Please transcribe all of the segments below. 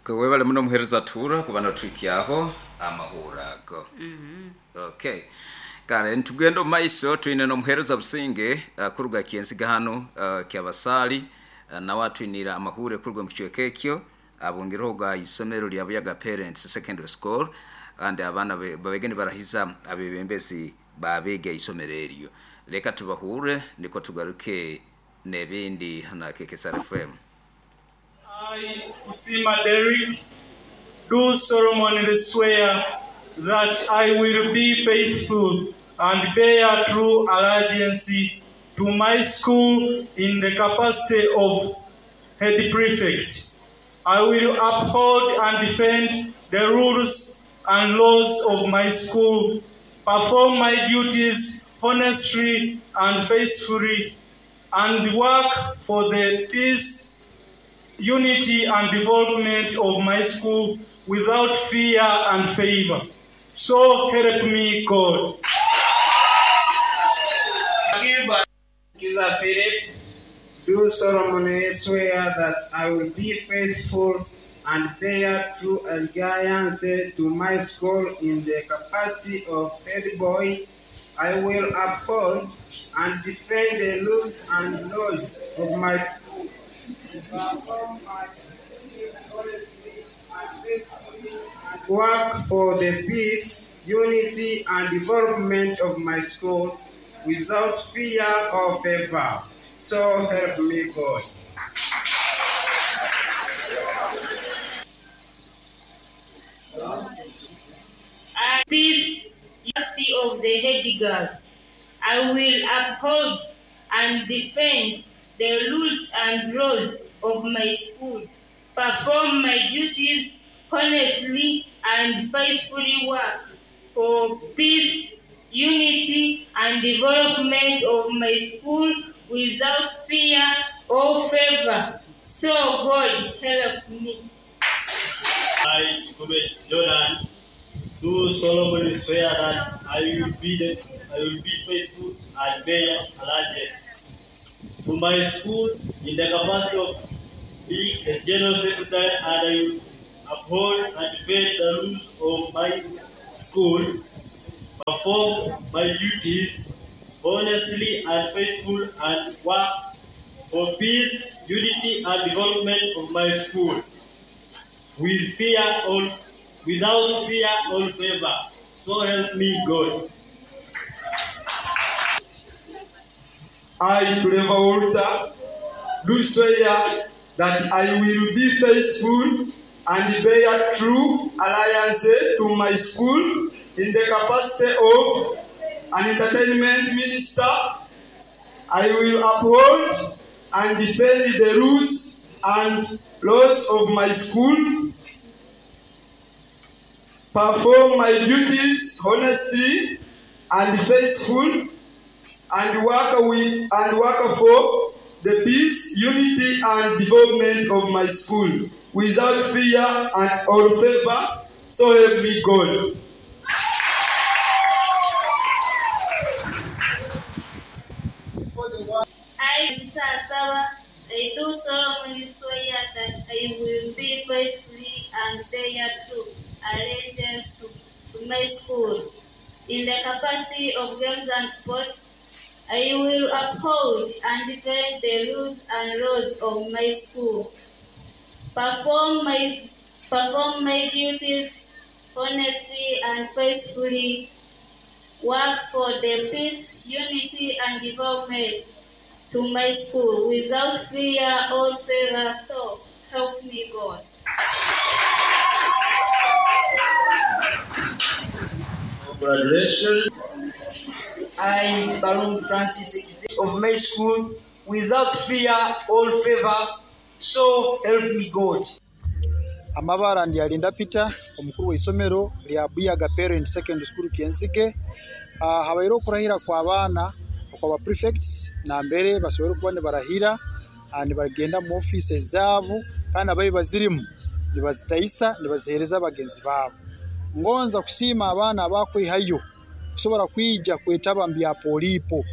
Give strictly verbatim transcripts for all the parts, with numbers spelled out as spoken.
Webale muno muhereza tura kuba notwikyaho amahura ago. Okay, kale ntugenda omu maiso. Twine n'omuhereza Businge uh, kuruga Kyensiga hano uh, Kyabasaali, uh, nawe atwinira amahure kuruga mu kicweka ekyo, abungireho ga isomero lya Buyaga Parents Secondary School, kandi abaana be- babege nibarahiza abebembezi babega isomero eryo. Leka tubahure niko tugaruke n'ebindi hana K K S R F M. I, Usima Derrick, do solemnly swear that I will be faithful and bear true allegiance to my school in the capacity of head prefect. I will uphold and defend the rules and laws of my school, perform my duties honestly and faithfully, and work for the peace, unity and development of my school without fear and favor. So help me God. Kiza Philip, do solemnly swear that I will be faithful and bear true allegiance to my school in the capacity of head boy. I will uphold and defend the rules and laws of my school, perform my duties honestly and faithfully, and work for the peace, unity, and development of my school without fear or favor. So help me God. I, peace, unity of the head girl. I will uphold and defend the rules and laws of my school, perform my duties honestly and faithfully, work for peace, unity, and development of my school without fear or favor. So God help me. I, Chikube Jordan, do solemnly swear that I will be the, I will be faithful and bear allegiance to my school in the capacity of being the general secretary, and I will uphold and defend the rules of my school, perform my duties honestly and faithful, and work for peace, unity, and development of my school with fear or without fear or favor. So help me God. I, Trevor Walter, do swear that I will be faithful and bear true allegiance to my school in the capacity of an entertainment minister. I will uphold and defend the rules and laws of my school, perform my duties honestly and faithful, and work with and work for the peace, unity, and development of my school without fear and or favor. So help me God. I, Lisa Asaba, I do solemnly swear that I will be faithfully and bear true allegiance to, to my school. In the capacity of games and sports, I will uphold and defend the rules and laws of my school, perform my, perform my duties honestly and faithfully, work for the peace, unity, and development to my school without fear or favor. So help me God. Congratulations. I, Baron Francis, of my school, without fear or favor, so help me God. Amabara ndi Alinda Peter, omukuru w'isomero lya Buyaga Parent Secondary School Kyenzige. uh, habaire okurahira kwa baana okwa prefects, nambere basobole kuba nibarahira, uh, nibagenda mu office zaabo, kandi abayi bazirimu nibazitaisa, nibazihereza bagenzi baabo. Ngonza kusiima abaana abakwihayo kusobora kwija kwetaba mu bya polipo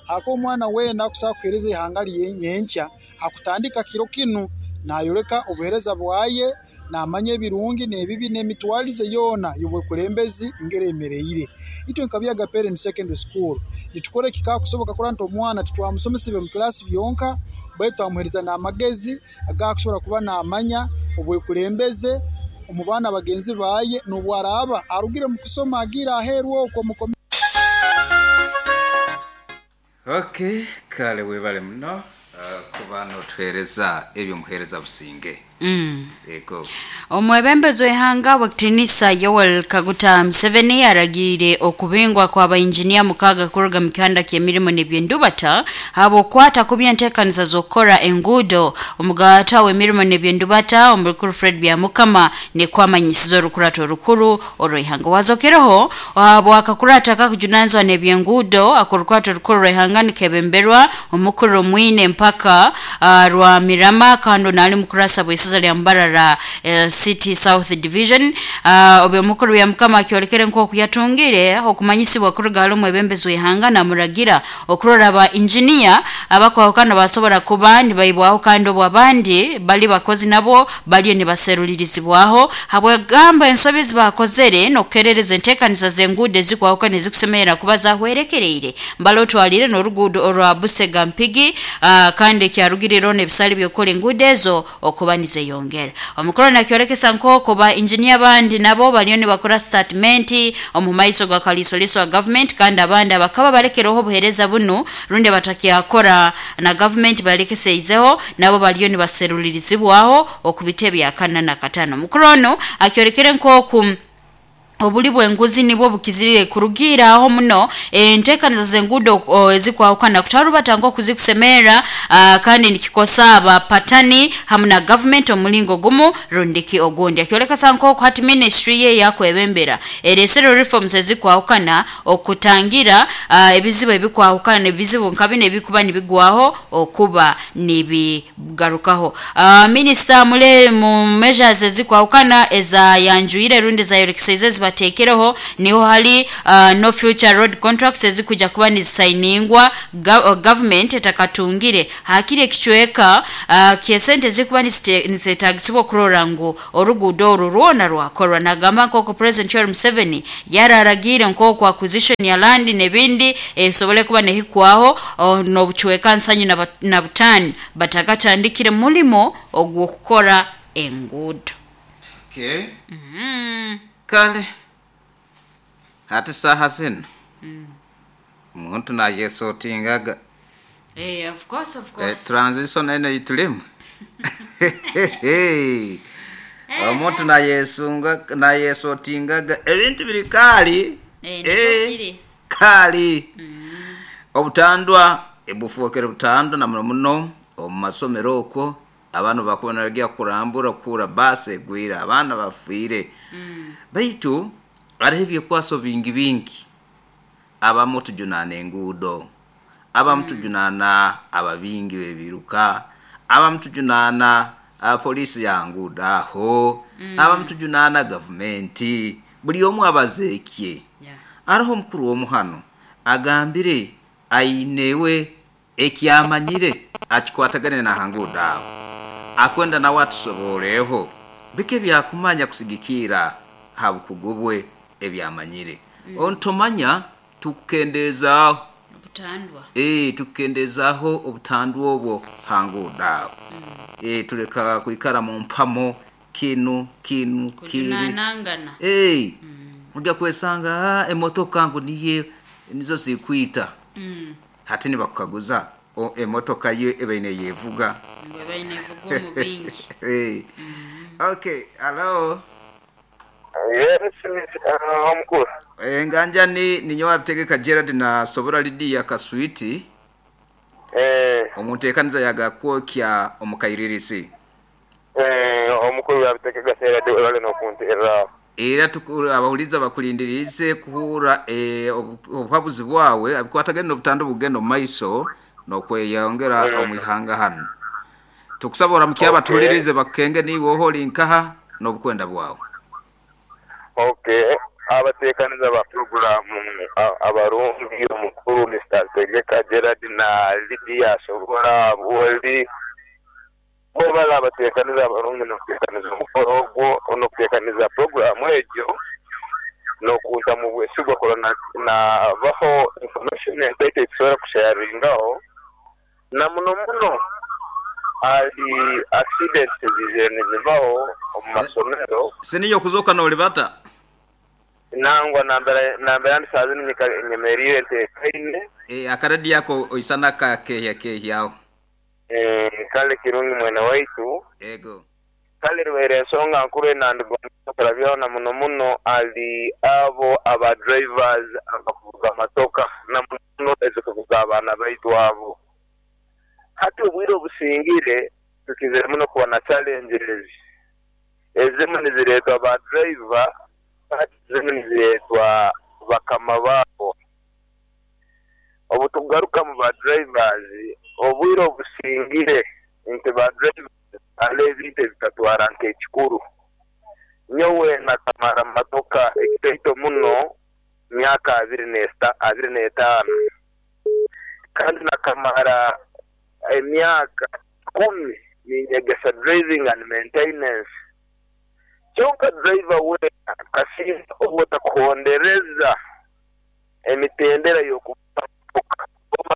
ako. Omwana weena akusobola kuhereza ihanga lyenyenkya akutandika kiro kinu nayoleka obuhereza bwaye. Namanya ebirungi n'ebibi n'emitwalize yoona y'obwekulembezi ngeremereire. Itwe nka Buyaga Parent Secondary School nitukora ekikakusoboka kurora nti omwana titwamusomesa mu class byonka, baitu twamuhereza n'amagezi agakusobora kuba namanya obwekulembeze omu baana bagenzi baye, n'obwaraba arugire mu kusoma agira aheeru okwo mukomi. Okay, kale webale muno uh, kuba notuhereza ebyo muhereza Businge. Mm. Ego. Omwebembezi w'ihanga w'ekitinisa Yoweri Kaguta Museveni aragiire okubingwa kw'abainjinia mukaaga kuruga mu kihanda ky'emirimo n'ebyendubata habw'okwata ku by'enteekaniza z'okukora enguudo. Omugaata w'emirimo n'ebyendubata omukuru Fred Byamukama nikwamanyisiza orukurato orukuru orw'ihanga. Wazokereho bwakakurata kakujunanizwa n'ebyenguudo akorukurato orukuru rw'ihanga nikebemberwa omukuru Mwine mpaka uh, rwa Mirama kandi nali mukurasa bw'isasa lya Mbarara eh, City South Division. uh, obyo mukuru ya mukama akyolekere nk'oku yatungire okumanyisibwa kuruga hali omwebembezi w'ihanga namuragira okurora ba engineer abakwahukana basobora kuba nibaibwaho kandi obwo abandi bali bakozi nabo baliyo nibaserulirizibwaho habwegamba ensobi zibakozere n'okukerereza enteekanisa z'enguudo ezikwahukana ezikusemerera kuba zahwerekereire mbali otwalire n'oruguudo orwa Busega Mpigi, uh, kandi ekyarugirireho n'ebisale by'okukora enguudo ezo okuba nizeyongera. Omukuru nakyolekesa nk'oku ba engineer abandi nabo baliyo nibakora statement omu maiso ga kalisoliso wa government, kandi abandi abakaba balekereho obuhereza bunu rundi batakyakora na government balekeseizeho nabo baliyo nibaserulirizibwaho okubite bya kana na katano. Omukuru ono akyolekere nk'oku obuli bw'enguzi nibwo bukizirire kurugira aho muno enteekaniza z'enguudo ezikwahukana kutarubata nk'okuzikusemera, uh, kandi nikikosa abapatani hamu na government omulingo gumu rundiki ogundi. Akyoleka nk'oku hati ministry ye yakwebembera eresero reforms ezikwahukana okutangira uh, ebizibu ebikwahukana ebizibu nka bino ebikuba nibigwaho okuba nibigarukaho. Uh, minister mule mu measures ezikwahukana eza yanjuire rundi zayorekeseize batekereho niho hali uh, no future road contracts ezikuja kuba nizisigningwa go government etakatungire hakiri ekichweka uh, kiesente zikuba nizetagisibwa kurora ngu oruguudo oru rwona rwakorwa. Nagamba nk'oku President Yoweri Museveni yararagire nk'oku acquisition ya land n'ebindi esobole kuba nehikwaho n'obuchweka nsanyu na, na butani batakatandikire mulimo ogw'okukora enguudo. Okay. Mm-hmm. Kale hati saha zino mm. Omuntu nayesotingaga. Eh, of course, of course. Eh, transition eno yitulimu. Omuntu nayesunga nayesotingaga ebintu biri kali. Eh, eh, kali. Mm. Obutandwa ebufuokere butandwa na muno muno omu masomero okwo abantu bakubona bagiye kurambura kura base egwira abaana bafiire. Mm. Baitu hariho ebyekwaso bingi bingi abamu tujunana enguudo, abamu tujunana ababingi bebiruka, abamu tujunana polisi ya nguudo aho, Mm. abamu tujunana gavumenti, buli omu abazeekye. Yeah. Hariho omukuru w'omuhano agambire ainewe ekyamanyire akikwatagane na hanguudo aho akwenda nawe atusoboleho bike byakumanya kusigikira habukugu bwe ebyamanyire. Mm. Ontomanya tukukendezaaho obutandwa. Eh, tukukendezaaho obutandwa obwo hanguudo aho. Mm. Eh, tuleka kwikara mu mpamo kinu kinu kiri. Kujunanangana. Eh, Mm. ojja kwesanga emotoka ngu niye nizo zikwita. Mm. Hati nibakukaguza o emotoka ye ebaine yevuga. Ngo ebaine yevuga omu bingi. Eh. Mm. Okay, hello. Yes, uh, omukuru. Eh, nganja ni ninyowa bitegeka Gerard na Sobora Lydia Kaswiti. Eh, omunteekaniza yagakwokya omukairirisi. Eh, omukuru yabitegeka Gerard wale nokunteera. Era tukuru abahuliza bakulindirize kuhura eh, obuhabuzi bwawe abikwatagene n'obutando bugendo mu maiso n'okweyongera Mm. omwihanga hano. Tukusaba oramukye Okay. abatulirize bakenge niwe oholi nkaha n'obukwenda bwawe. Okay, abateekaniza ba programu abarungi omukuru Mister Tegeka Gerard na Lydia Sobora boli bo bala abateekaniza abarungi n'okuteekaniza omukoro ogwo okuntekaniza programu egyo n'okunta mu bwesigwa kurora nabaho information entaito etusobora kusharingaho na muno muno ali accidents zizire nizibaho omu masomero. Siniyo kuzoka n'olibata nangwa nambera nambera ndisazi nyemerire ntekaine e, akaradi yako oisana ka kehya kehyaho e, kale kirungi mwene waitu ego kale rwere ensonga nkuru enandigonda na muno muno ali abo aba drivers abakuvuga amatoka na muno ezikuvuga abaana baitu abo. Hati obwire obusingire tukizire muno kuba na challenges ezimu nizireetwa ba driver, ezimu nizireetwa bakama baabo. Obu tugaruka mu ba drivers obwire obusingire nti ba drivers ale ebintu ebitatwara nk'ekikuru. Nyowe nakamara matoka ekitaito muno myaka abiri n'esta abiri n'etaano kandi nakamara emyaka kumi ninyegesa driving and maintenance. Kyonka driver wena kasinga obutakuhondereza emitendera y'okuvuga oba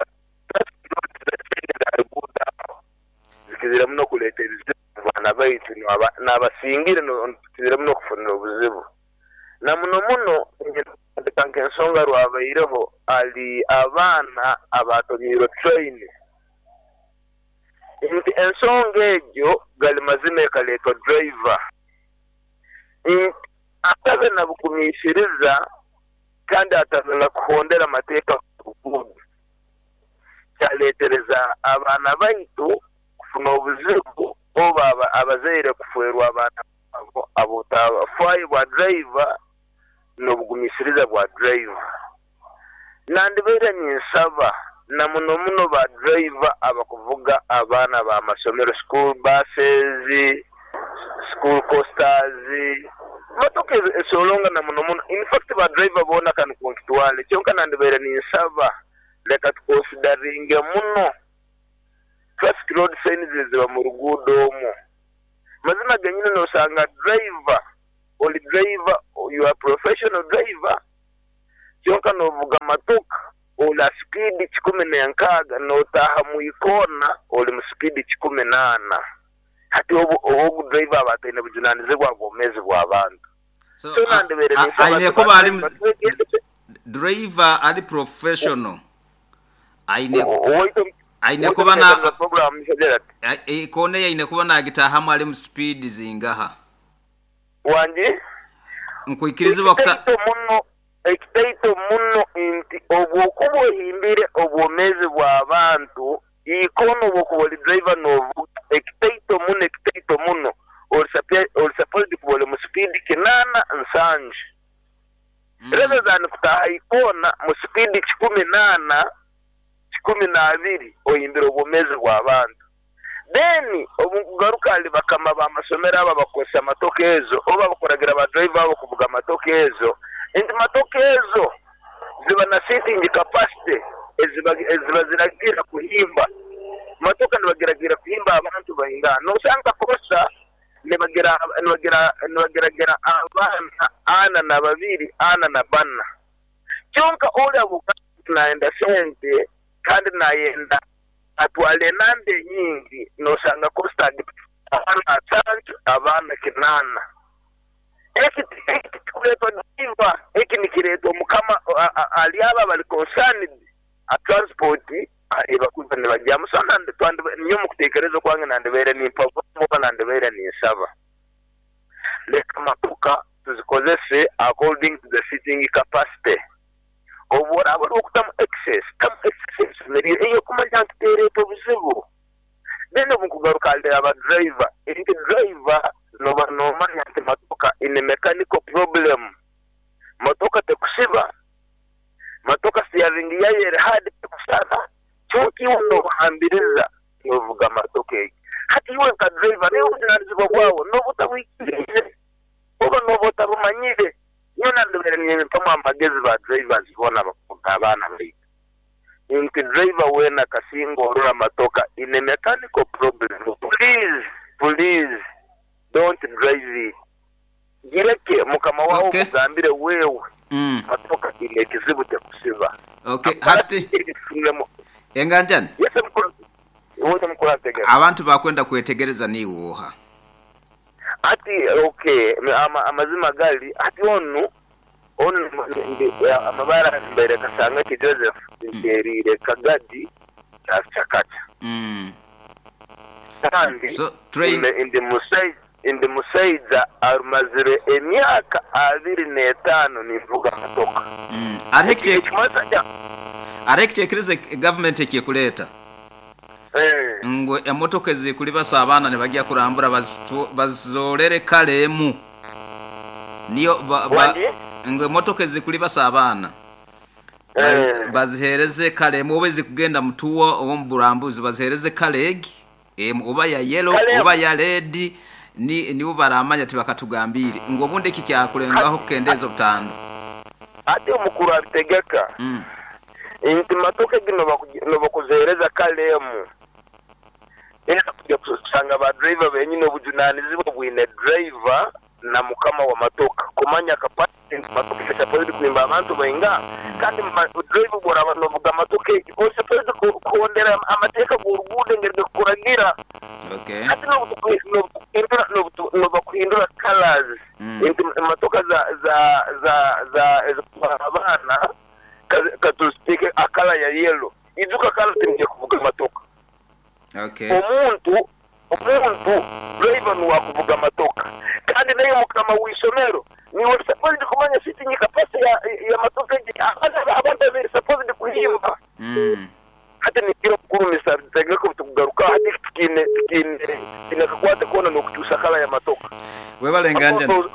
zikizira muno kuleeta ebizibu abaana baitu n'abasingire tukizire muno kufunira obuzibu. Na muno muno ndeka nk'ensonga rwabaireho ali abaana abatomiirwe train nti ensonga egyo gali mazima ekaleetwa driver nti atabe nabugumiisiriza kandi atabe nakuhondera amateeka kugudu kyaleetereza abaana baitu kufuna obuzibu oba abazaire kuferwa abaana abo abutafayo bwa driver n'obugumiisiriza bwa driver. Nandibaire ninsaba na muno muno ba driver abakuvuga abaana ba masomero, school buses, school coasters, motoka esolonga na muno muno. In fact ba driver bona kanu kunkitwale kyonka nandibaire ninsaba leka tukonsidaringe muno traffic road signs ziba mu ruguudo omwo. Mazima genyini nosanga driver oli driver, you are professional driver kyonka novuga matoka ola speed kikumi n'enkaaga notaha mu ikona oli mu speed kikumi n'ana. Hati obu obu driver abataine bujunanizibwa bwomezi bw'abantu. So, so aine kuba ali driver ali professional aine aine kuba na ikone aine kuba nagitahamu ali mu speed zingaha wanje nkuikirizibwa kuta muno ekitaito muno nti obwokuba ohimbire obwomezi bw'abantu ikono obwokuba oli driver novuga ekitaito muno ekitaito muno oli supposed kuba oli mu speed kinana nsanju mm. Rather than kutaha ikona mu speed kikumi nana kikumi n'abiri ohimbire obwomezi bw'abantu. Then obugaruka ali bakama b'amasomero aba bakozesa amatoka ezo oba bakoragira ba driver abo kuvuga amatoka ezo nti matoka ezo ziba na seating capacity eziba eziba ziragira kuhimba matoka nibagiragira kuhimba abantu bahinga nosanga kosa nibagira nibagira nibagiragira abana ana na babiri ana na bana kyonka oli abuka naenda sente kandi nayenda atwale nande nyingi nosanga kosta abana atatu abana kinana. Eki kuletwa driver eki nikiretwa mukama ali aba bali concerned a transport ebakuza nibajyamu. So nyo mukutekereza kwange nandibere nimpava nandibere ninsaba leka matoka tuzikozese according to the seating capacity. Obu oraba okutamu excess tamu excess eyo kumanya nti tereeta obuzibu. Then obukugaruka ali aba driver nti driver noba nomanya nti matoka ine mechanical problem matoka tekusiba matoka steering yayo eri hard tekusaba kyonka iwe nobuhambiriza novuga matoka egi. Hati iwe nka driver niwe obujunanizibwa bwawe noba otabwikirize oba noba otabumanyire. Nyo nandibere nimpamu amagezi ba drivers bona bakuvuga abaana baitu nti driver wena kasinga orora matoka ine mechanical problem, please please don't drive it. Gireke mukama wawe Okay. omugambire wewe Mm. matoka ine ekizibu tekusiba. Okay, hati enganjani Yese mukuru wote mukuru ategera. abantu bakwenda kwetegereza niwoha. Ati okay ama, amazima gali ati onu onu ndi- amabara mbere kasanga ki Joseph nterire kagadi chakata. Mm. Kandi So train ndi- ndi musaiza ndi musaiza arumazire emyaka abiri n'etaano ninvuga matoka. mm. Areke Ekimasa kya areke government ekikuleta eh ngo emotoka ezikulibasa abaana ne bajja kurambura bazitu- bazolere kaleemu niyo ba, ba, Wandi? ngo emotoka ezikulibasa abaana Eh. bazihereze kaleemu oba ezikugenda mutuwa oba muburambuzi bazihereze kaleegi emu oba ya yellow Kaleemu. oba ya red ni nibo baramanya tibakatugambire ngo obundi eki kyakulengaho kukendeeza obutando. Ati omukuru abitegeka mm. nti matoka gino baku- no bakuzihereza kaleemu era kujja kusanga ba driver benyini obujunanizibwa bwine driver na mukama wa matoka kumanya kapasiti nti matoka esapozidi kuhimba abantu bainga kandi ma- driver bworaba novuga matoka egi osapozidi kuhondera amateeka g'oruguudo engeri gekukuragira. Okay. Ati nobutukuhindura nobakuhindura colors Mm. nti matoka za za za za ezikutwara abaana katuziteeke akala ya yellow ijuka kala tinije kuvuga matoka. Okay. Omuntu omuntu driver niwakuvuga matoka kandi naye mukama w'isomero niwe supposed kumanya sitting capacity ya, ya matoka egi abaana abantu abiri supposed kuhimba. Mm. Hati nikiro mukuru misabitegeko tukugaruka hati tukine tukine tukine kakwate kona nokukyusa kala ya matoka. Webale enganjani.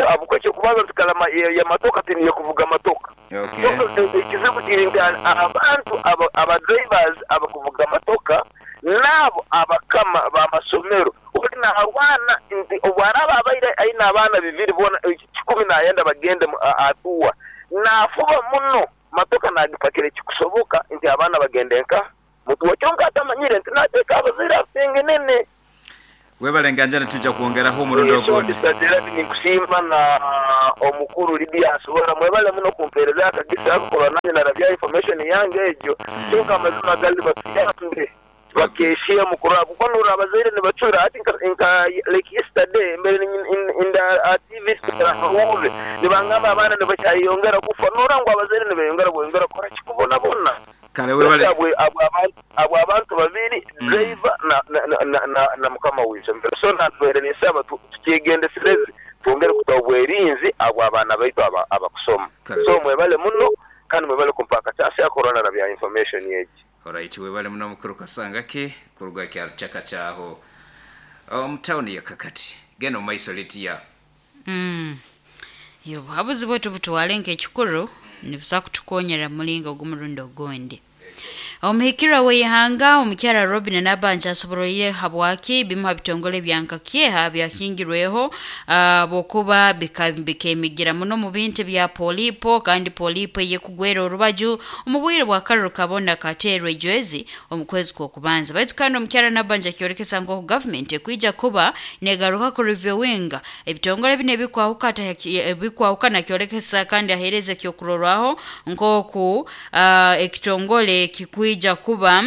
Abukwekyo kubanza tukalama ya, ya matoka tiniye kuvuga matoka. Okay. So, ekizibu kiri nti abantu aba, aba drivers abakuvuga matoka nabo abakama b'amasomero ori naharwana nti obwaraba abaire aine abaana bibiri bona kikumi nayenda bagende mu- a- atuwa nafuba muno matoka nagipakira ekikusoboka nti abaana bagende nka mutuwa kyonka atamanyire nti nateeka abazaire asinge nene. Webale enganjani tujja kwongeraho omurundi ogundi. Gerard ninkusiima na omukuru Lydia asobola mwebale muno kumpeereza akagisa akukorwa nanye narabya information yange egyo kyonka amazima gali batuyambe bakeshiye mukuru abo kuko nura abazaire nibacura ati nka, nka like yesterday mbere in, in, in the uh, T V amawulire nibangamba abaana nibakyayongera kufa nura ngu abazaire nibeyongera bweyongera kora kikubonabona. Kale webale Abwe abwe abantu abwe abantu babiri driver na na na, na, na, na mukama w'isomero so natwere nisaba tukyegendesereze twongere kuta obwerinzi abo abaana baitu aba- abakusoma. Kale. So mwebale muno kandi mwebale kumpaka kyasi ya corona na bya information egi. Alright, webale muno mukuru Kasangaki kuruga kya chaka kyaho omu town ya Kakati genda omu maiso Lydia. Mm. Yo buhabuzi bwetu butwale nk'ekikuru nibusa kutukonyera mulingo ogw'omurundi ogundi. Omuhikirwa w'eihanga omukyara Robin Nabanja asobororire habwaki bimu ha bitongole bya Nkakyeha byakingirweho uh, bwokuba bika- bikemigira muno mu bintu bya polipo kandi polipo eyekugwera orubaju omu bwire bwa karuru kabona kateerwa ejwezi omu kwezi kw'okubanza. Baitu kandi omukyara Nabanja akyorekesa nk'oku gavumenti ekwija kuba negaruka ku reviewinga ebitongole bino ebikwahukata ebikwahukana kyorekesa kandi aheereza ekyokurorwaho nk'oku uh, ekitongole kikwija kuba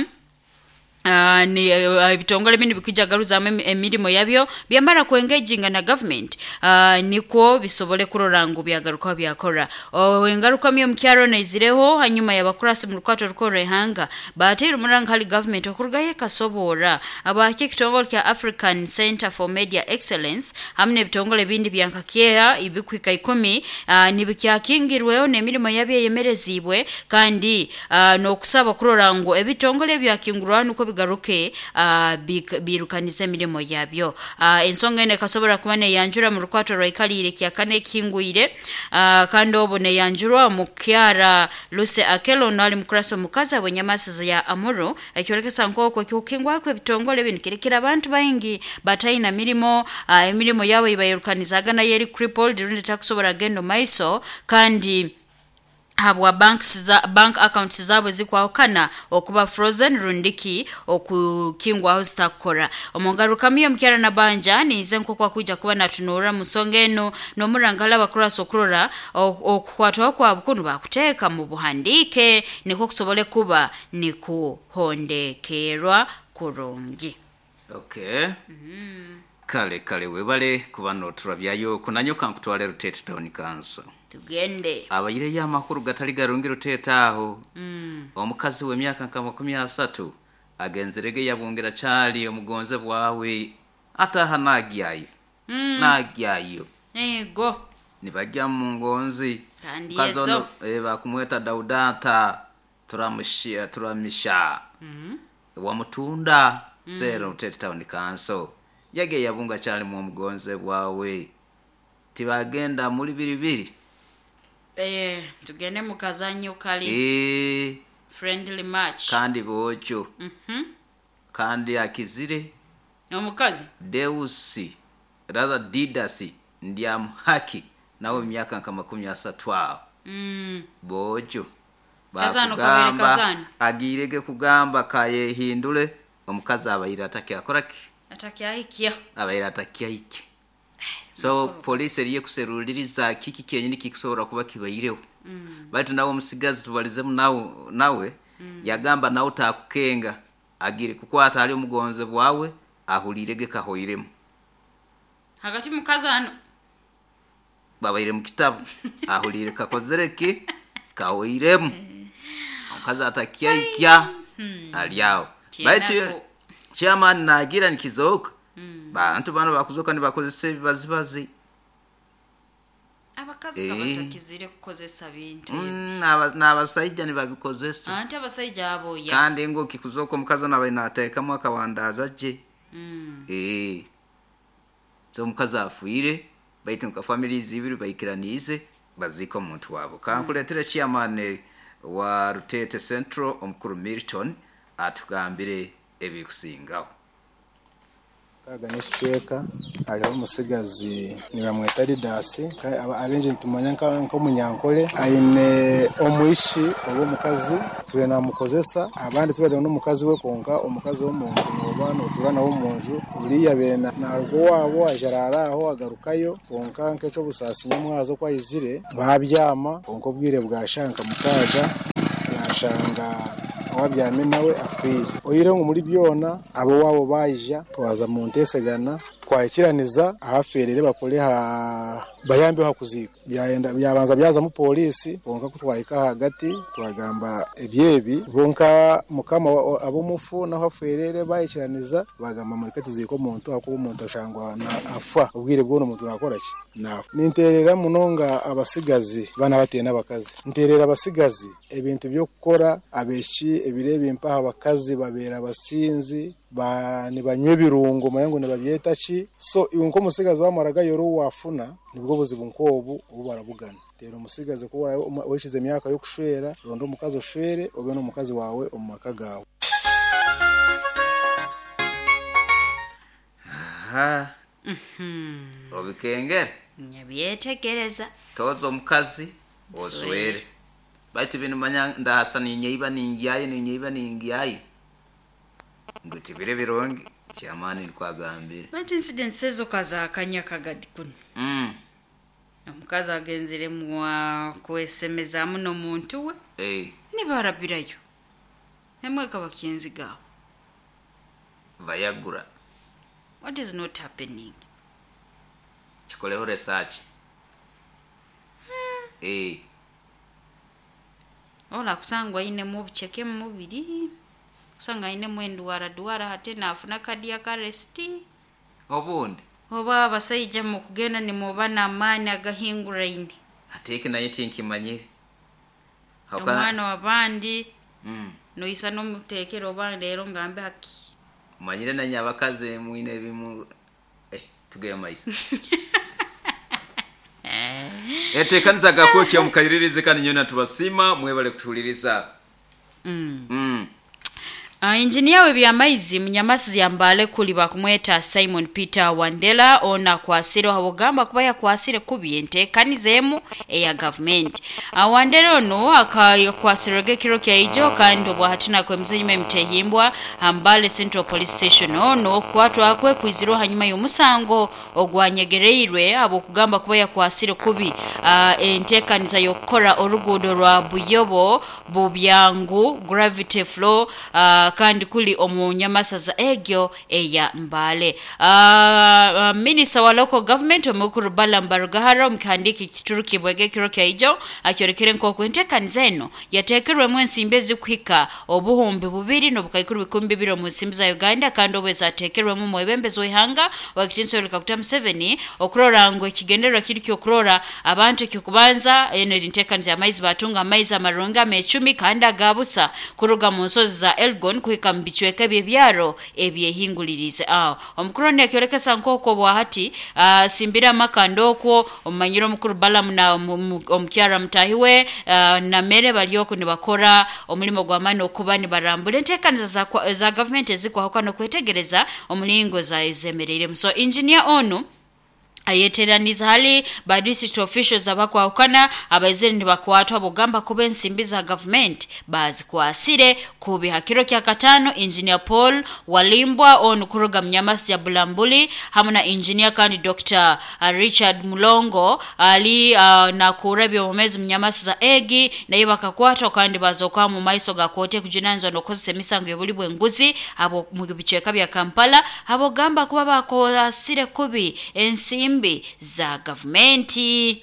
Uh, ni uh, ebitongole bino bikwijja garuzamu emi- emirimo yabyo byamara kuengaginga na government uh, nikwo bisobole kurora ngu byagarukaho byakora. Oh, engarukamu y'omukyaro naizireho hanyuma y'abakurasi mu rukwato rukoro ihanga bateire omuranga hali government okurugayo ekasoboora abaki ekitongole kya African Center for Media Excellence hamwe n'ebitongole bindi bya Nkakyeha ebikuhika ikumi uh, nibikyakingirweho n'emirimo yabyo eyemerezibwe kandi uh, n'okusaba kurora ngu ebitongole byakingurwaho nukwo bigaruke uh, bik- birukanize emirimo yabyo. Uh, ensonga eno ekasobora kuba neyanjura mu rukwato rwaikalire kyakane ekihingwire uh, kandi obu neyanjurwa mukyara Lucy Akelo ono ali mukurasa omukazi abwenyamasiza ya Amuru ekyorekesa nk'okwo ekikukingwako ebitongole bino kirekera abantu baingi bataina mirimo uh, emirimo yabo ibayirukanizaga nayo eri crippled rundi takusobora genda omu maiso kandi habwa banks za bank accounts zabo zikwahukana okuba frozen rundiki okukingwaho zitakora. Omungaruka omukyara na banja nize nko kwa kuja kuba natunura musonga eno nomurangala bakurasa okurora okukwatwa kwa bukunu bakuteka mu buhandike niko kusobole kuba nikuhondekerwa kurungi. Okay. Mm-hmm. Kale kale webale kuba noturabyayo kunanyoka nkutwale Rutete Town Council. Tugende. Abayire ya makuru gatali garungi Rutete aho. Mm. Omukazi w'emyaka nka makumi asatu agenzerege yabungira chali omugonze bwawe ataha nagyayo. Mm. Nagyayo. Ego. Nibajya mu ngonzi. Kandi Mukazi ono, yezo. eh, bakumweta Daudata turamushia turamisha. Mm. Wamutunda Mm. Sero Rutete Town Council. Yage yabunga chali mu mugonze bwawe. Tibagenda muri biribiri. Eh, tugende mukazanyo kali. Eh, friendly match. Kandi bojo. Mhm. Kandi akizire. Omukazi Deusi rather Didasi ndiamuhaki nawe myaka nka makumi asatu aho. Mm. Bojo. Kazano kabere kazano. Agirege kugamba kayehindule omukazi abayira atakya ki? Atakyahikia. Abayira atakyahiki. So police eriye kuseruliriza kiki kyenyini kikusobola kuba kibaireho. Mm. Baitu nawe omusigazi tubalizemu nawe nawe Mm. yagamba nawe takukenga agire kukwata ali omugonze bwawe ahulirege kahoiremu. Hagati mukazano Babaire mu kitabu ahulire kakozereke kahoiremu. Omukazi atakyahikya Hmm. aliawo. Kyenako. Baitu chairman nagira nikizoka. Mm. Bantu bano bakuzoka nibakozesa ebibazibazi. Abakazi Eh. kabatakizire kukozesa bintu. Mm, n'aba- n'abasajja nibabikozesa. Anti abasajja abo ya. Kandi ngo kikuzoka omukazi ono abaire nateekamu akawandaza gye. Mm. Eh. So omukazi afiire baitu nka families ibiri baikiraniize baziika omuntu waabo. Kankuleetera chairman wa Rutete Central omukuru Milton atugambire ebikusingaho. Kaga n'ekicweka hariho omusigazi nibamweta Didasi abengi nitumanya nk'omunyankole aine omwishi oba omukazi tube namukozesa abandi tubari n'omukazi we konka omukazi w'omuntu noba notura nawe omunju uriya bene naruga owabo ajarara aho agarukayo konka nk'ekyobusaasi nyamwazo kwayizire babyama konka obwire bwashanka mukaga yashanga wabyame nawe afire oyire ngo muri byona abo wabo bayija twaza mu ntesegana twayikiraniza ahaferere bakore ha bayambe hakuzika byayenda byabanza byaza mu polisi bonka kutwayika hagati twagamba ebyebi bonka mukama abo mufu naho aferere bayikiraniza bagamba muri katuziko omuntu akuba omuntu ashangwa na afa ubwire bwo omuntu nakora ki nafa ninterera munonga abasigazi bana bateye n'abakazi nterera abasigazi ebintu byo kukora abeshi ebirebe impaha abakazi babera abasinzi ba nibanywe ebirungo mayango nibabyeta ki so iwe nko musigazi wamaraga yoro wafuna nibwo buzibu nkobu ubu barabugana tero omusigazi ko wishize emyaka yo kushwera rondo omukazi oshwere obe n'omukazi wawe omu maka gawe. Aha. Mhm. Obikengere Nyabyetegereza. toza omukazi oswere baitu bino manya ndahasa ninyeiba ningyayo ninyeiba ningyayo nguti bire birungi kyamaani nikwagambire. But incidents ezo kazakanya kagadi kuno. Mm. Omukazi agenzire mwa kwesemezaamu n'omuntu we Eh, nibarabirayo emweka bakinzigaho. Bayagura. What is not happening? Kikoleho research. Eh, Ola kusangwa ainemu obuceke mu mubiri kusanga ainemu endwara hate nafuna cardiac arrest obundi oba abasajja mu kugenda nimuba n'amaani agahinguraine ate naye tinkimanyire. omwana w'abandi Mm. noisa n'omuteekera oba leero ngambe haki Manyire nanye abakazi mwine ebimu eh tugeye maiso. Etekanisa gakokya mukayiririze kandi nyona tubasima mwebale kutuhuliriza. Mm. Mm. Uh, engineer w'ebyamaizi munyamasi yambale kuli bakumweta Simon Peter Wandela ona kwasire habugamba kuba yakwasire kubi enteekaniza eya government. Uh, Wandela ono akakwasirege kiro kya ijo kandi obwahatina kwemzenyuma emitehimbwa Mbale Central Police Station ono kwatwa kwe kwiziro hanyuma y'omusango ogwanyegereirwe abo kugamba kuba yakwasire kubi uh, enteekaniza y'okukora oruguudo rwa Buyobo Bubyangu Gravity Flow uh, kandi kuli omunyamasaza egyo eya Mbale. Uh, uh, Minister wa local government omukuru Balaam Barugahara omukihandiki kituruki bwege kiro kya ijo akyorekere nk'oku enteekaniza eno yateekerwemu ensimbi ezikuhika obuhumbi bubiri n'obukaikuru bikumi bibiri omu nsimbi za Uganda kandi obwo ezateekerwemu omwebembezi w'ihanga wakitinsa Yoweri Kaguta Museveni okurora ngu ekigendererwa kiri ky'okurora abantu ekyokubanza eno eri nteekaniza y'amaizi batunga amaizi amarungi amecumi kandi agabusa kuruga mu nsozi za Elgon kuhika mu bicweka eby'ebyaro ebyehingulirize aho. Omukuru ono yakyorekesa nk'okwo bwahati uh, simbira amakanda okwo omumanyire omukuru Balaam na omukyara mutahiwe uh, namere balyoko nibakora omulimo gw'amaani okuba nibarambura enteekaniza za, za government ezikwahuka n'okwetegereza omulingo zemereiremu. So engineer onu ayeteraniza hali ba district officials abakwahukana abaizire nibakwatwa bugamba kuba ensimbi za government bazikwasire kubi. Hakiro kya katano engineer Paul Walimbwa onu kuruga mnyamasi ya Bulambuli hamwe na engineer kandi Doctor Richard Mulongo ali uh, na kurabya omumezi mnyamasi za egi naye bakakwatwa kandi bazoka mu maiso ga kote kujunanizwa n'okukozesa emisango y'obuli bw'enguzi abo mu bicweka bya Kampala abo gamba kuba bakwasire kubi ensimbi za gavumenti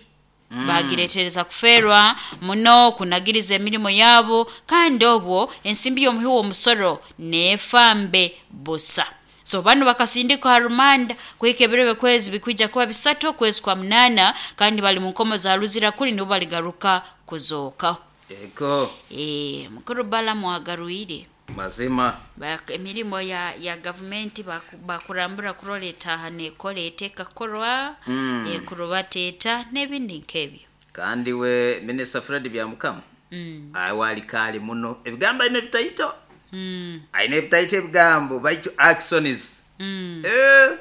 mm. bagiretereza kuferwa muno kunagiriza emirimu yabo kandi obwo ensimbi y'omuhi w'omusoro nefambe busa. So bano bakasindikwa harumanda kuhika kwezi bikwija kuba bisatu kwezi kwa munana kandi bali mu nkomo za Luzira kuli nibo baligaruka kuzooka. Ego eh mukuru Balaam agaruire mazima Bak, emirimo ya ya government bakurambura kuroleta hane kolete kakorwa mm. e kurubateta n'ebindi nkebyo. Kandi we Minister Fred Byamukama mm. awali kali muno ebigamba ine bitaito mm. aine bitaito ebigambo baitu actions mm. eh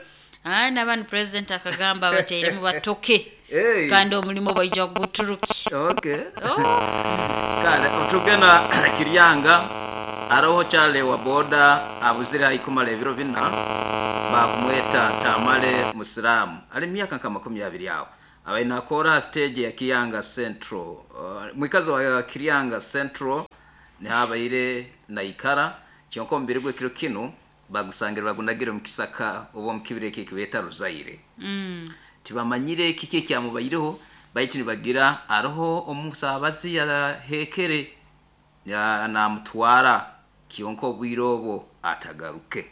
ah nabanu president akagamba abateeremu batoke hey. Kandi omulimo baija guturuki. Okay. Oh. Kale otugena Kiryanga aroho chale wa boda abuzira ikumala ebiro bina bakumweta Tamale Musiramu ali myaka nka makumi abiri awo abaina akora stage ya Kiryanga Central uh, mwikazi wa Kiryanga Central ni habaire na ikara kyonko mbiri gwe kiro kino bagusangira bagunagire mu kisaka obo mukibire kibeta Ruzaire mm. Tibamanyire kike kyamubayireho baitu nibagira aroho omusabazi ya hekere ya namutwara kiyonko bwirobo atagaruke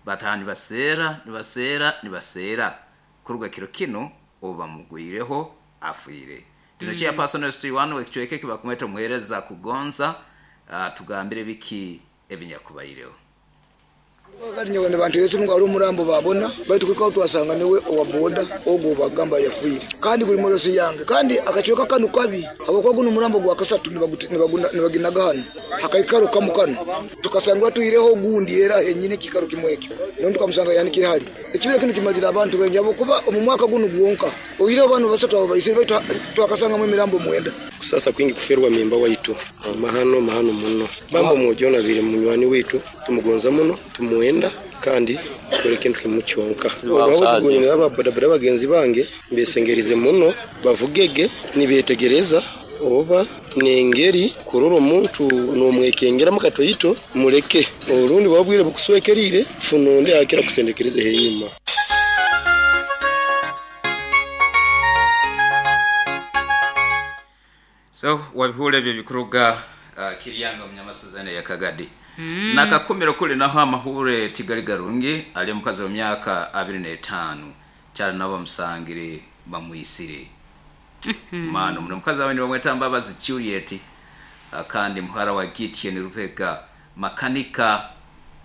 batani basera nibasera nibasera kuruga kiro kino oba mugwireho afire tinochia mm. Personal story one wekichweke kibakumeta muhereza kugonza uh, tugambire biki ebinyakubayireho. Kati nyawe banteretse ngo ari umurambo babona bari twiko twasanga niwe owa boda ogo bagamba yafuire kandi kuri morosi yange kandi akachoka kanu kabi abakwa guno umurambo gwa kasatu nibaginaga hano hakaikaruka mukano tukasanga tuireho gundi era henyine kikaru kimwekyo none tukamusanga yani kiri hali ekibira kino kimazira abantu bengi abo kuba mu mwaka guno gwonka oire abantu basatu abo bayisire baitu twakasanga mu mirambo mwenda kusasa kwingi kuferwa mimba waitu mahano mahano muno bambo mujona bire munywani witu tumugonza muno tumuenda kandi kore kintu kimucyonka abazi aba boda bagenzi bange mbesengerize muno bavugege nibetegereza oba nengeri kuroro omuntu nomwekengera mukatoyito mureke orundi wabwire bukuswekerire funonde akira kusendekereze henyuma. So wabihule bye bikuruga uh, Kiryanga munyamasazane ya Kagadi mm. Nakakumiro kuli naho amahure tigali garungi ali mukazi wa myaka abiri na etano cyane nabo musangire bamwisire mm -hmm. Mano muno mukazi wawe bamweta Mbabazi Juliet uh, kandi muhara wa Gitien Rupega makanika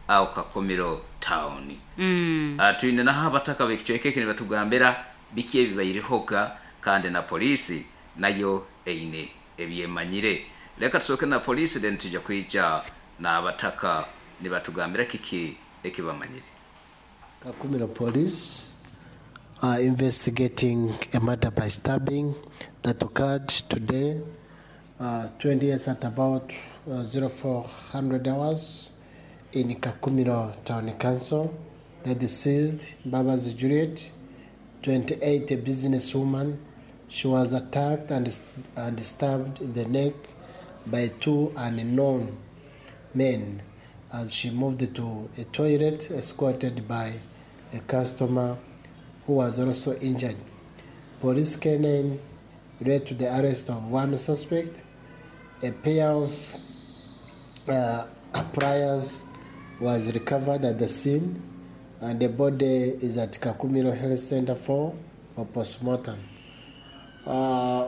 au Kakumiro town mm. uh, tuine naho abataka bekicweke ne batugambira bikiye bibayirehoga kandi na polisi nayo eine ebyemanyire. Leka tusoke na polisi then tujja kuija na abataka Nibatugambira kiki ekibamanyire. Kakumiro Police are investigating a murder by stabbing that occurred today, uh, twentieth at about uh, zero four hundred hours in Kakumiro Town Council. The deceased, Babazi Juliet, twenty-eight, a businesswoman, she was attacked and, and stabbed in the neck by two unknown men as she moved to a toilet, escorted by a customer who was also injured. Police K nine led to the arrest of one suspect. A pair of uh, pliers was recovered at the scene, and the body is at Kakumiro Health Center for, for postmortem. Uh,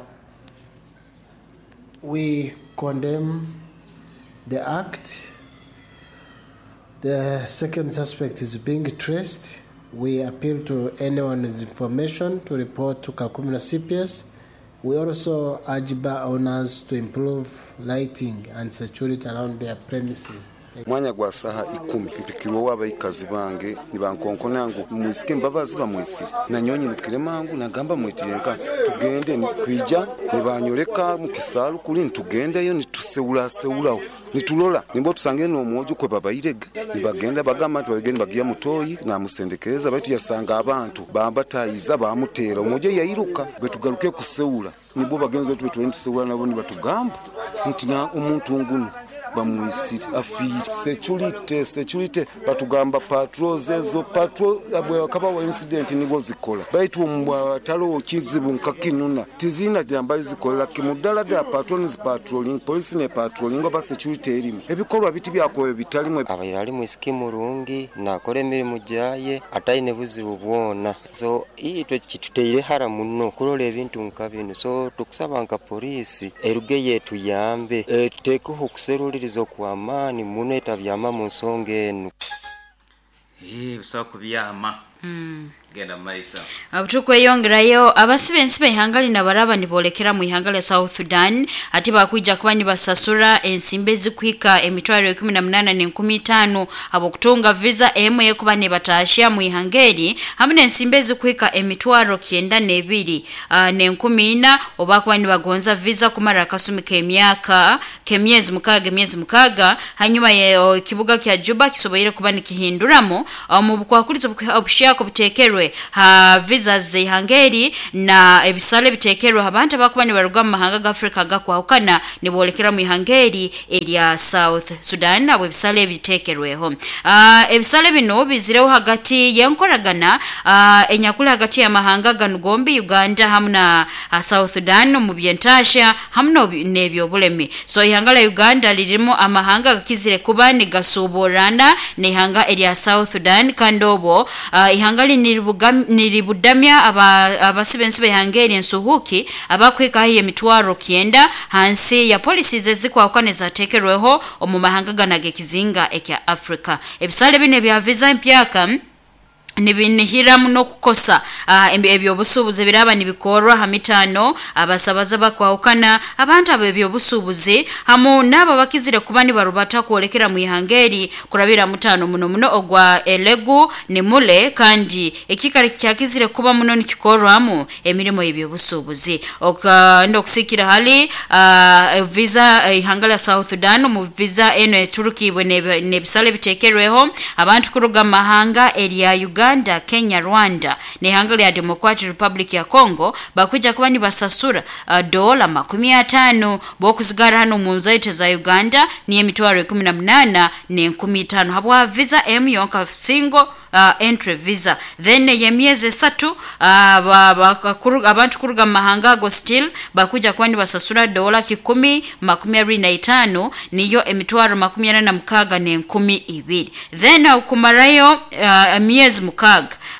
we condemn the act. The second suspect is being traced. We appeal to anyone with information to report to Kakumiro C P S. We also urge bar owners to improve lighting and security around their premises. Mwanya gwa saha ikumi mpikirwa w'abaikazi bange nibankonkona ngu mwisike mbabazi bamwisire nanyonyi nukire mangu nagamba mwitirenka tugende nikwija nibanyoleka mu kisalu kuli nitugendeyo nituseula seulaho nitulola nimbo tusange n'omwojo kwe babairega nibagenda bagamba nti babigende bagiya mutoyi namusendekereza baitu yasanga abantu bambatayiza bamutera omwojo yairuka bwe tugaruke kuseula nibo bagenzi betu betwe nituseula nabo nibatugamba nti na omuntu nguno bamwisire afire security security batugamba patrols ezo patrol abwe wa incident nibo zikola baitu omwatalo kizibu nkakinuna tizina jamba zikola kimudala da patrons patrolling police ne patrolling oba security erimu ebikolwa biti byakowe bitalimwe abaira ali mwisiki murungi nakora emirimu jaye ataine buzibu bwona so itwe kituteire hara muno kurola ebintu nka bino so tukusaba nka polisi eruge yetu yambe e, tutekeho okuseruliriza kwamani muno etabyama mu nsonga eno. Eh busa kubyama. Mm. Genda maisa. Abutukweyongerayo abasibe ensibe ihanga lina baraba nibolekera mu ihanga lya South Sudan ati bakwija kuba nibasasura ensimbe zikuhika emitwaro ikumi na munana n'enkumi itaano abo kutunga visa emwe kuba nibatashia mu ihanga eri hamwe n'ensimbe zikuhika emitwaro kyenda n'ebiri uh, n'enkumi ina oba kuba nibagonza visa kumara akasumi k'emyaka k'emyezi mukaga emyezi mukaga hanyuma ye kibuga kya Juba kisoboire kuba nikihinduramo mu bukwakurizo obushaka butekerwe ha visa zihangeri na ebisale bitekerwe abantu abakuba nibaruga mu mahanga ga Afrika gakwahukana nibolekera mu ihangeri erya South Sudan abo ebisale bitekerweho. Uh, ebisale bino bizireho hagati yenkoragana uh, enyakula hagati ya mahanga ganugombi Uganda hamwe na uh, South Sudan mu byentasha hamwe n'ebyobulemi. So ihanga la Uganda lirimo amahanga gakizire kuba nigasuburana n'ihanga erya South Sudan kandi obo uh, ihanga niribudamya abasibe nsibe hangeri ensuhuki abakweka hiye mitwaro kienda hansi ya policies ezikwakane zatekerweho omu mahanga ganage kizinga ekya Africa. Ebisale bine bya visa mpyaka nibinihira muno kukosa uh, ebyobusubuzi biraba nibikorwa hamitano abasabaza bakwahukana abantu abo ebyobusubuzi hamu nabo bakizire kuba nibarubata kuolekera mu ihangeri kurabira mutano muno muno ogwa elegu ni mule kandi ekikari kyakizire kuba muno nikikorwamu emirimo y'ebyobusubuzi ndo kusikira hali uh, visa ihanga la South Sudan mu visa eno eturukibwe nebisale bitekerweho abantu kuruga mahanga erya Uganda Uganda, Kenya, Rwanda n'ihanga lya Democratic Republic ya Congo bakuja kuba nibasasura uh, dola makumi atano bokuzigara hano mu nzaite za Uganda ni emitwaro ikumi na munana n'enkumi itaano habwa visa M yonka single uh, entry visa then yemyezi esatu uh, abantu kuruga mahanga ago still bakuja kuba nibasasura dola kikumi makumi abiri na itaano niyo emitwaro makumi ana na mukaga n'enkumi ibiri then uh, kumarayo uh, emyezi mukaga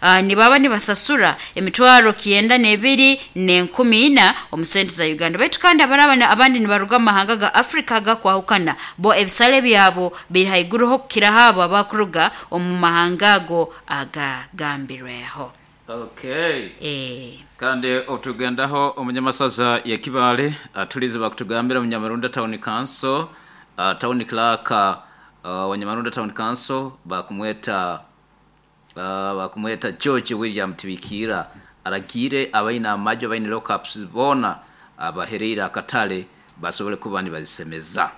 uh, nibaba nibasasura emitwaro kienda n'ebiri n'enkumi ina omusente za Uganda baitu kandi abaraba abandi nibaruga mahanga ga Afrika gakwahukana bo ebisale byabo biri haiguruho kukira habo abakuruga omu mahanga ago agagambirweho. Okay. Eh. Kandi otugendaho omunyamasaza ya Kibale atulize bakutugambira Munyamarunda Town Council uh, Town Clerk uh, wa Nyamarunda Town Council bakumweta uh, bakumweta George William Tibikira aragire abaina amajo abaine lockups bona abahereire akatale basobole kuba nibazisemeza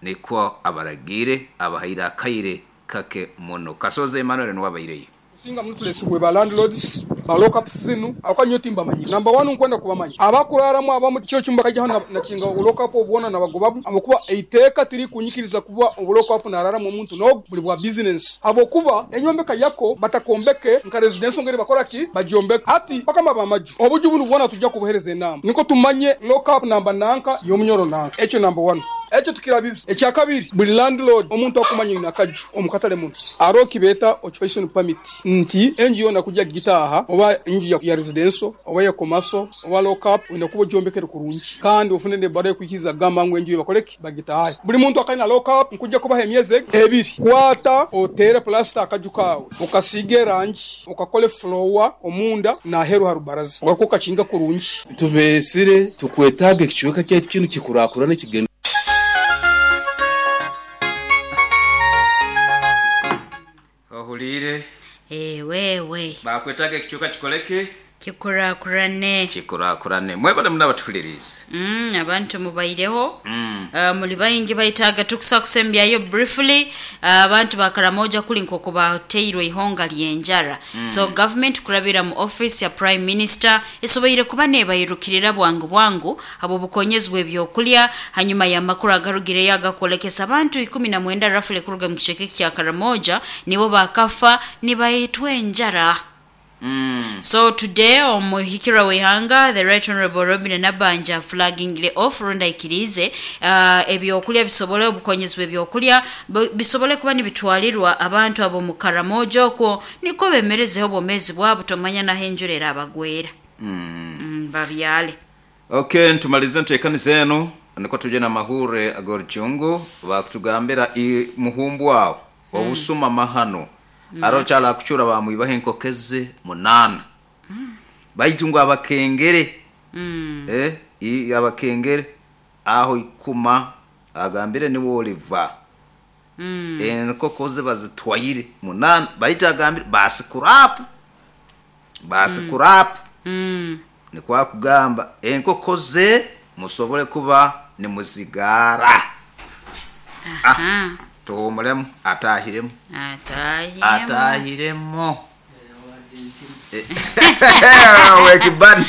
nikwo abaragire abahaire akaire kake muno. Kasoze Emmanuel niwabaireye Singa mutulesibwe ba landlords ba lockups zinu akanyo timba manyi number one nkwenda kubamanyi abakuraramu abamu cyo cyumba kajya hano nakinga lockup obwona nabagobabu abakuba eiteka tiri kunyikiriza kuba lockup nararamu omuntu no buli bwa business abokuba enyombeka yako batakombeke nka residence ngere bakora ki bajombeka ati bakama bamaju obuju bunu bwona tujja kubuhereza enama niko tumanye lockup namba nanka yomunyoro nanka echo number one ekyo tukirabiza ekyakabiri buli landlord omuntu akumanya nakaju omukatale muntu aroki beta occupation permit nti enju yona kujja gitaha oba enju ya, ya residential oba ya commercial oba lockup ina kuba jombekere kurungi kandi ofune ne bare kwikiza gamba ngo enju bakoleki bagitaha buli muntu akanya lockup nkujja kubaha emyezi ebiri kwata otere plaster akaju kawe ukasige rangi ukakole floor omunda na heru harubaraza ugakoka kinga kurungi tubesire tukwetaga ekichweka kyaitu kinu kikurakura n'ekigendo Ohulire Eh wewe bakwetaga ekichuka kikoleke kikurakurane kikurakurane mwebale munabatuhuliriza mm abantu mubaireho mm. uh, muli bayingi baitaga tukusa kusembyayo briefly uh, abantu bakaramoja kuli nkoko bateirwe ihonga lyenjara Mm. so government kurabira mu office ya prime minister esoboire kuba nebayirukirira bwangu bwangu abo bukonyezwe ebyokulya hanyuma ya makuru agarugire yagakolekesa abantu ikumi na mwenda rafle kuruga mu kicheke kya Karamoja nibo bakafa nibayitwe enjara. Mm. So today omuhikira wehanga the right honorable Robin Nabanja flagging off runda ikirize uh, ebyokulya bisobole obukonyezwe ebyokulya bisobole kuba nibitwalirwa abantu abo mu Karamoja okwo niko bemerezeho obomezi bwabo tomanya na henjurera abagwera mm. mm, babyale. Okay, ntumalize ntekani zenu niko tuje na mahure agorchungu bakutugambira muhumbu wawo mm. obusuma mahano mm. aro chala kuchura bamwibahe enkokeze munana mm. baitunga abakengere mm. eh i abakengere aho ikuma agambire ni woliva mm. enkokoze bazitwayire munana baita agambire basikurapu basikurapu mm. ni kwa kugamba enkokoze musobole kuba ni muzigara. Aha. Ah, tuhumulemu atahiremu atahiremu atahiremo wekibani.